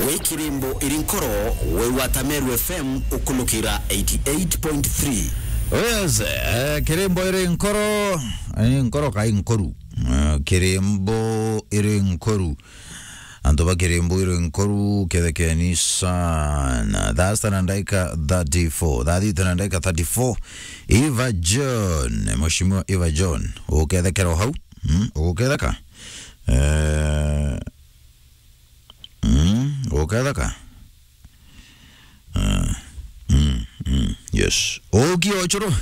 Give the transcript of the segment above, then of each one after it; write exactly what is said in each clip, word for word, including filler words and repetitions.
Wi kirimbo iri nkoro, wi gwata Meru F M ukulukira eighty eight point three. Oh yes, eh, kirimbo iri nkoro, eh, nkoro kai nkoru. Eh, kirimbo iri nkoru. Antu ba kirimbo iri nkoru, kethekeni sana. Thaa sita na ndaika thirty-four. Thaa thita na ndaika thirty-four. Eva John, Mheshimiwa Eva John, ukethekera o hau? Mm, uguketheka? Eh, Mm, guketheka. Ah, mm, mm, yes. Uki o churu.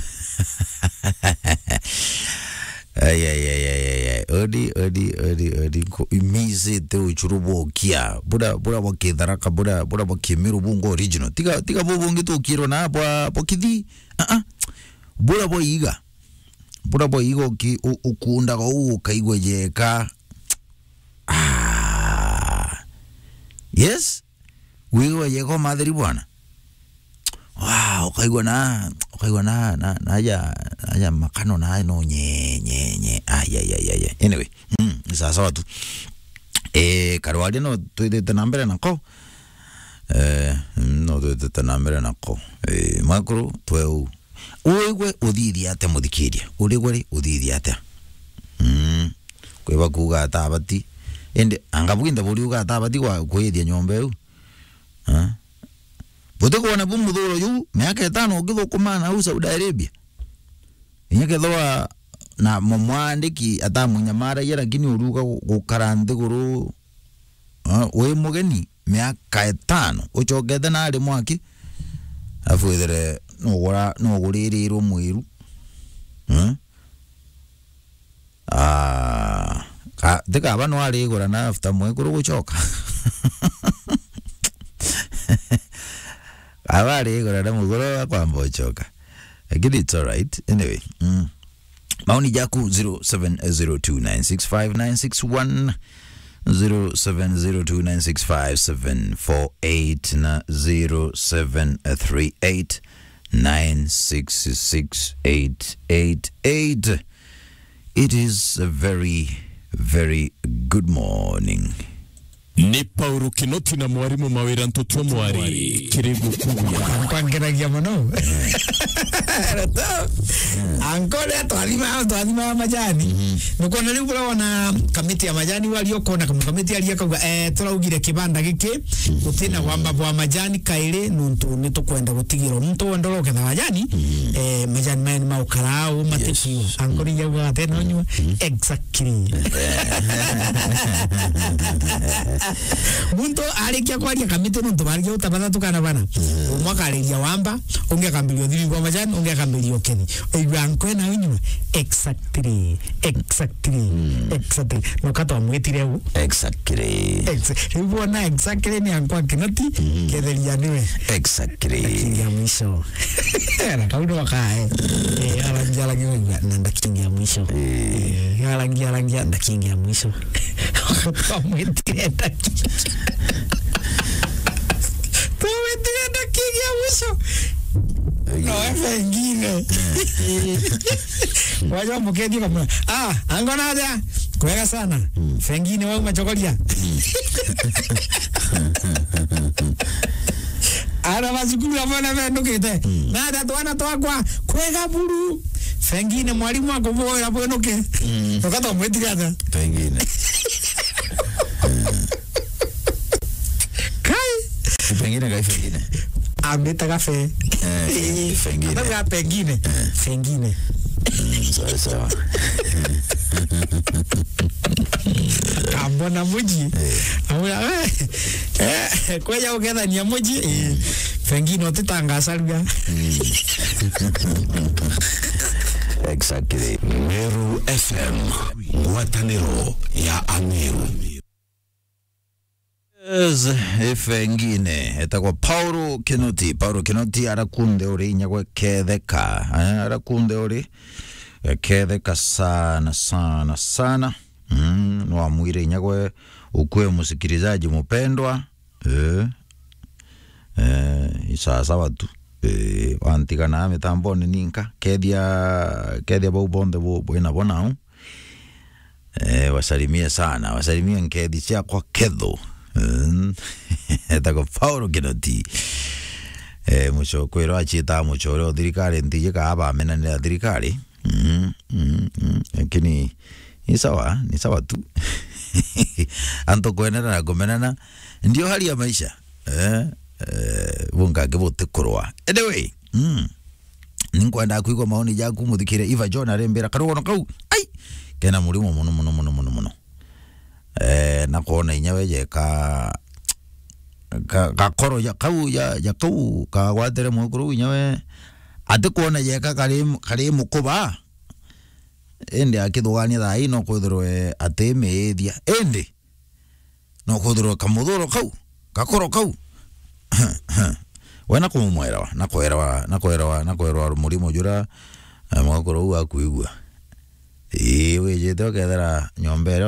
Ai, ai, ai, ai, ai, ai. Odi, odi, odi, odi. Ko-, imizite uchuru bokia. Bura, bura bwa Kitharaka, bura, bura bwa Kimiru bungo original. Tiga, tiga bu bungi tukirwa na bwa, bwa Kithi. Ah, ah. Bura bwa iga. Bura bwa iga uki-, u-, ukundaga u ukaigwa jeka. Ah. Yes? Wigwa yego matheri bwana. Wow, ukaigwa na, ukaigwa na, na, na aja, na aja makano na no nye, nye, nye. Ai, ai, ai, ai, ai. Anyway, mm, sawa sawa tu. Eh, karwaria no twithite na mbere nako. Eh, mm, no twithite na mbere nako. Eh, makuru tweu. Uigwe uthithia atia muthikiria? Urigwe ri uthithia atia? Mm. Kwi bakuuga atabati. Indi anga bwinthe buriuga atabati kwa kwithia nyomba iu? Eh? Butikwona bu muthuro juu, miaka itano ukithukuma na au Saudi Arabia? Inya kethirwa na mu-, mwandiki atamunyamaragia, lakini uriuga gu-, gukara nthiguru, eh, wi mugeni, miaka itano, ucokete na ari mwaki, alafu withire nugura-, nuguririrwe mwiru. Eh? Ah, ka-, ti kaba no arigura na after mwekuru gucoka. Kaba arigura na muguru akwamba ucoka. Lakini it's all right. Anyway, mm. Maoni jaku zero seven zero two nine six five nine six one, zero seven zero two nine six five seven four eight na zero seven three eight nine six six eight eight eight. It is a very, very good morning. Ni Paulo Kinoti na mwarimu Mawira Ntutu Mwari, kiri gukuria. Kwangeragia mono. Anko ria twathima, twathima majani. Nukwona riu buria wona kamiti ya majani wari ukona kamwe kamiti aria kauga, eh, turaugire kibanda giki, gutina gwamba bwa majani kairi, nuntu ni tukwenda gutigirwa. Muntu wenda uketha majani, eh, majani maya ni maukara au, matikiu. Yes. Anko ria uga ate no nyua. Exactly. Muntu arikia kwaria kamiti nuntu barikia uta bathatu kana bana. Umwe akariria wamba, ungi akambiria uthiri kwa majani, ungi akambiria ukethi. Oigua nkwe na unyua. Exactly. Exactly. Exactly. Noka twamwitire u. Exactly. Ex-, riu wona exactly ni ankwa Kinoti, ketheria niwe. Exactly. Kingi ya mwisho. Na kau no kae. Eh, arangia, arangia, na ndakingi ya mwisho. Eh. Eh, arangia, arangia, ndakingi ya mwisho. Twamwitire ndakingi. Twamwitire ndakingi ya mwisho. No, eh, pengine. Waja mukethie kamwe. Ah, ango na aja. Kwega sana. Pengine wau machokoria. Ara ba cukuru abo na bendukite. Na aja twana twakwa. Kwega buru. Pengine mwarimu akuboera bwenuke. Ukatwa mwitire ata? Pengine. Kai. Pengine kai pengine. Ambitaga fe. Eh, pengine. Atauga pengine. Eh. Pengine. Mm, sawa, sawa. Ambona muji. Eh. Amwira, eh, eh, kweja ukethania muji. Eh, pengine utitangacarua. Mm. Exactly. Meru F M, ngwataniro ya Ameru. Yes, ife ngine etagwa Paulo Kinoti. Paulo Kinoti arakunde uri inyagwe ketheka. Eh, arakunde uri, eh, ketheka sana, sana, sana. Mm, no amwire inyagwe ukue msikilizaji mpendwa. Eh, eh, isasawa tu. Eh, wantigana mitamboni ninka. Kethia, kethia bau bonthe bu-, bwina bo nau. Eh, wasalimie sana, wasalimie nkethi ciakwa ketho. Mm. Etagwo Paulo Kinoti. Eh, muco-, kwirwa aciitaga mucore o thirikari, ntiji kaa bamenanira thirikari. Mm, mm, mm. Lakini ni sawa, ni sawa tu. Antu kwenana na kumenana ndio hali ya maisha. Eh, eh, bungangi butikurwa. Anyway, mm. Ninkwenda kwigua maoni jaku, muthikire. Eva John arimbira karugono kau. Ai! Kena murimo muno, muno, muno, muno, muno. Eh, na kwona inya we jeka ka-, gakoro ja kau, ja, ja kau kagwatire mwekuru inya we, ati kwona jeka kari, kari mukuba, indi akithugania thaa ii no kwithirwe ati miithia, indi no kwithirwe kamuthuro kau, gakoro kau. We na kumumwelewa, na kwelewa, na kwelewa, na kwelewa murimo jura, eh, mwekuru uu akwigua. Ii, wijite ukethira nyomba iria